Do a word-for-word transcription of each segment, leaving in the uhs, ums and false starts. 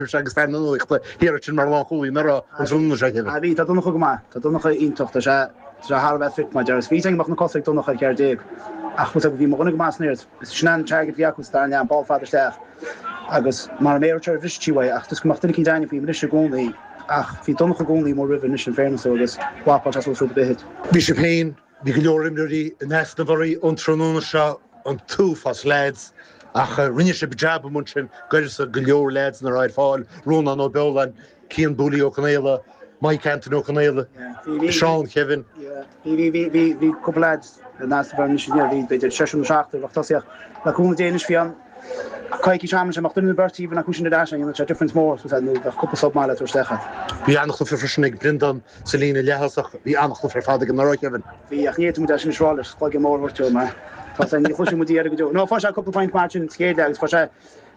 Agus fear na nuachta thiar ansin mar lánchúlaí anuraidh an tráthnóna seo Kevin. Ah bhí, tá Donncha go maith, tá Donncha iontach, tá sé tá sé thar a bheith fit mar deir. Bhí go mbeadh na cosa ag Donncha ar ceathair déag ach bhfuil bhí mo dhuine go maith san aer. Is sin an target a bhí acu sa dara leath, an ball fada isteach agus mar an méar ar bhris sí uaidh ach just go mbeadh duine eicínt againne faoi anois i gcónaí ach bhí Donncha i gcónaí mór roimhe anois in fairness dó agus mhapáil sé suas rud ar bith. Bhí sibh féin, bhí go leor imreoirí in easnamh oraibh an tráthnóna seo, an t-uafás leaids ach rinne sibh jab amuigh ansin d'uireasa go leor leaids nach raibh ar fáil, Rónán Ó Beoláin, Cian Booley Ó Conaola, Mike Anthony Ó Conaola, Seán Kevin. Bhí bhí bhí bhí bhí cúpla leaids in easnamh orainn anois inniu, bhí b'fhéidir seisear nó seachtar a bheadh tosaíocht le cúnamh Dé anois bhí an coicís am sin mbeadh duine nó beirt even acu sin ar ais dhéanfadh sé difference mór so nó bheadh cúpla sub maith le tabhairt isteach agat. Bhí an-chluiche freisin ag Brendan sa líne leath-thosach, bhí an-chluiche ar fad ag an anuraidh Kevin. Bhí ach ní fhéadfaidh muid é sin a rá leis cloigeann mór a thabhairt dó mar tá sé ní chloisfidh muid iarraidh go deo. No fuair sé cúpla point mar sin sa chéad leath agus fuair sé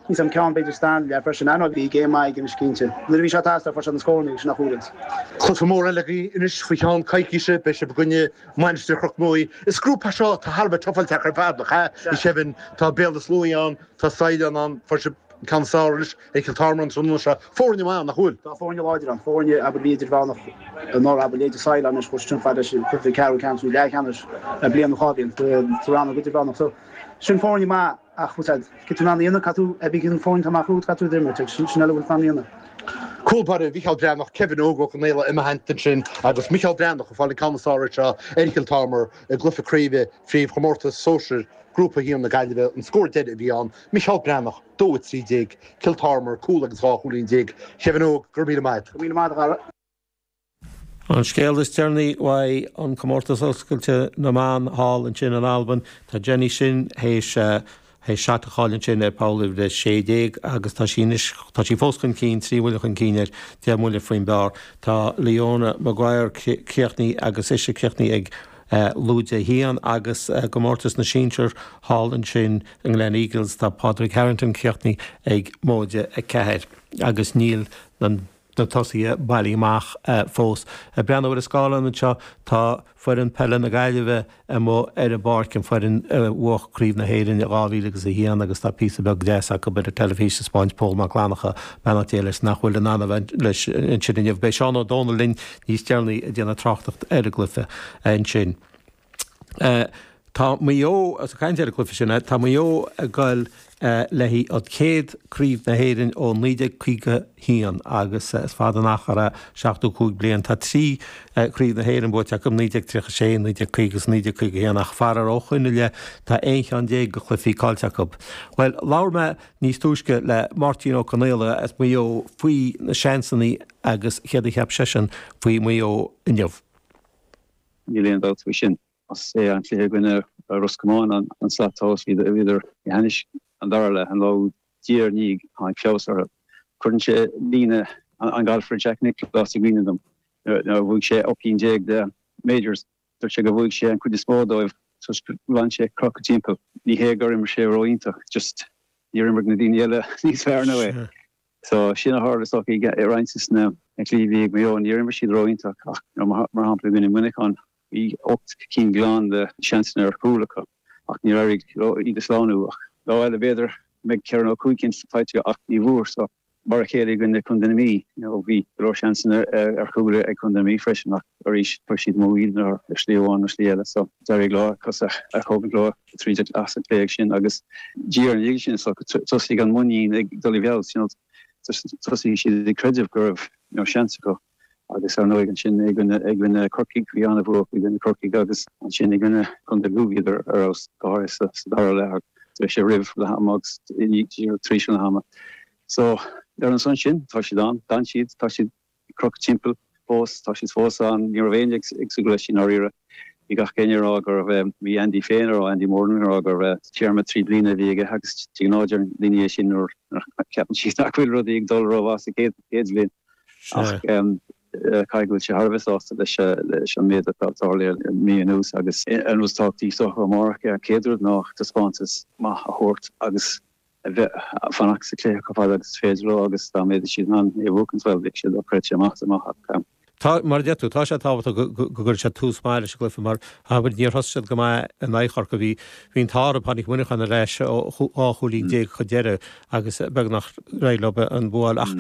níos am ceann b'fhéidir sa dara leath freisin. I know bhí game maith aige anois cinnte. Nuair a bhí sé ag teastáil fuair sé na scóranna agus sin nach uaireanta. Cluiche mór eile agaibh anois faoi cheann coicíse, beidh sibh i gcoinne Mainistir Chnoc Muaidhe. Is grúpa é seo atá thar a bheith tufáilte ar fad nach ea? A Kevin, tá Béal Átha Sluaighe ann, tá Saighleán ann, fuair sibh an ceann is fearr anois ar Chill Tormar an tráthnóna seo. Foirne maith, nach bhfuil? Tá foirne láidir ann, foirne abair bhí idirmheánach anuraidh abair leithéidí Saighleán anois chuaigh sin fad leis an cluiche ceathrú ceannais nó leathcheannais le bliain nó dhá bhliain sa rannóg idirmheánach. So sin foirne maith ach bhfuil siad cad tú in ann a dhéanamh cad tú a bhí an foireann atá amach romhat cad tú ag imirt agus sin sin eile a bhfuil tú in ann a dhéanamh. Cúl báire Mhicheál Breathnach, Kevin Óg Ó Conaola i mo theannta ansin agus Micheál Breathnach ag fáil an ceann is fearr anseo ar Chill Tormar i gcluiche craoibhe phríomhchomórtas sóisir Grúpa a haon na Gaillimhe. An scór deiridh a bhí ann, Micheál Breathnach, dó a trí déag, Cill Tormar, cúl agus dhá chúilín déag. Kevin Óg, go raibh míle maith agat. Go raibh míle maith agat a Dhara. An scéal is deireanaí uaidh an comórtas oscailte na mban thall ansin in Albain, tá Jenny Shin théis théis seat a chaill ansin ar pholl uimhir a sé déag agus tá sí anois tá sí fós chun cinn, trí bhuille chun cinn air, deich mbuille faoin bpar. Tá Leona Maguire críochnaithe agus ise críochnaithe ag lúide a haon agus i gcomórtas na sinsear thall ansin i nGleneagles tá Padraig Harrington críochnaithe ag móide a ceathair agus níl an na tosaithe bailithe amach fós. Ag breathnú ar an scáileán anseo tá foireann peile na Gaillimhe amuigh ar an bpáirc, an foireann a bhuaigh Craobh na hÉireann i dhá mhíle agus a haon agus tá píosa beag deas acu ar an teilifís ag 'spáint Pól Mac Fhlannchadha, beannacht Dé leis, nach bhfuil in ann a bheith leis ansin inniu. Beidh Seán Ó Dónaill linn níos deireanaí ag déanamh tráchtaireacht ar an gcluiche ansin. Tá Maigh Eo, as ag caint ar an gcluiche sin, tá Maigh Eo ag goil le haghaidh an chéad Craobh na hÉireann ó naoi déag caoga haon agus is fada an achar é, seachtó cúig bliain. Tá trí Chraobh na hÉireann buaite acu, naoi déag tríocha sé, naoi déag caoga agus naoi déag caoga haon ach faraor ó shoin i leith tá aon cheann déag de chluichí caillte acu. Bhuel, labhair mé níos túisce le Máirtín Ó Conaola as Maigh Eo faoi na seansanna agus céard a cheap seisean faoi Mhaigh Eo inniu. Níl aon dabht faoi sin. Is é an cluiche i gcoinne Ros Comáin an slat tomhais. Bhíodar i gceannais an dara leath an lá diaidh ar ndiaidh tháinig feabhas orthu. Cuireann sé líne an galfaire Jack Nicklaus i gcuimhne dom nuair a bhuaigh sé ocht gcinn déag de majors. Dúirt sé gur bhuaigh sé an chuid is mó dóibh toisc gur lean sé crochadh timpeall. Ní hé gur imir sé ró-iontach, just níor imir na daoine eile níos fearr ná é. So sin a tharla is dócha i roinnt de na cluichí a bhí ag Maigh Eo. Níor imir siad ró-iontach ach mar shampla i gcoinne Mhuineacháin bhí ocht gcinn glan de sheansanna ar chúl acu ach níor éirigh leo iad a shlánú. Ach lá eile b'fhéidir go mbeidh ceithre nó cúig cinn faighte ach ní bhfuair. So mar a chéile i gcoinne Contae na Mí, you know bhí go leor seansanna ar chúl ag Contae na Mí freisin ach arís chuir siad amú iad ar shlí amháin nó slí eile. So d'éirigh leo cos a thógaint leo tríd as an gcluiche sin agus diaidh ar ndiaidh sin so thosaigh an muinín ag dul i bhfeabhas, you know thosaigh siad ag creideamh go raibh you know seans acu agus ar ndóigh ansin i gcoinne i gcoinne Corcaigh bhí an-bhua acu i gcoinne Corcaigh agus ansin i gcoinne Contae Lú bhíodar ar fheabhas go háirithe sa sa dara leath agus sé roimh leath ama agus tar éis leath ama. So ar an son sin tá siad ann, d'fhan siad, tá siad ag crochadh timpeall fós, tá siad fós ann, ní raibh éinne ag súil leis i ndáiríre. Bhí gach éinne ag rá go raibh, bhí Andy féin ag rá, Andy Moran ag rá go raibh téarma trí bliana a bhí aige agus de ghnáth deireann daoine é sin nuair a cheapann siad nach bhfuil rudaí ag dul rómhaith sa chéad chéad bhliain. Ach caithfidh go bhfuil sé thar a bheith sásta leis leis an méid atá tarlaithe le mí anuas agus an rud is tábhachtaí is dócha amárach an chéad rud ná taispeántas maith a thabhairt agus a bheith fanacht sa chluiche chomh fada agus is féidir leo agus dá mbeidh siad in ann é a bhuachaint, bhuel, bheadh sé dochreidte amach is amach ach. Tá mar a deir tú, tá sé tábhachtach go gcuirfidh siad tús maith leis an gcluiche mar abair níor thosaigh siad go maith in aghaidh Chorcaí. Bhí bhí an t-ádh orthu, tháinig Muineachán ar ais ó dhá chúilín déag chun deiridh agus beagnach d'éirigh leo an bua a fháil ach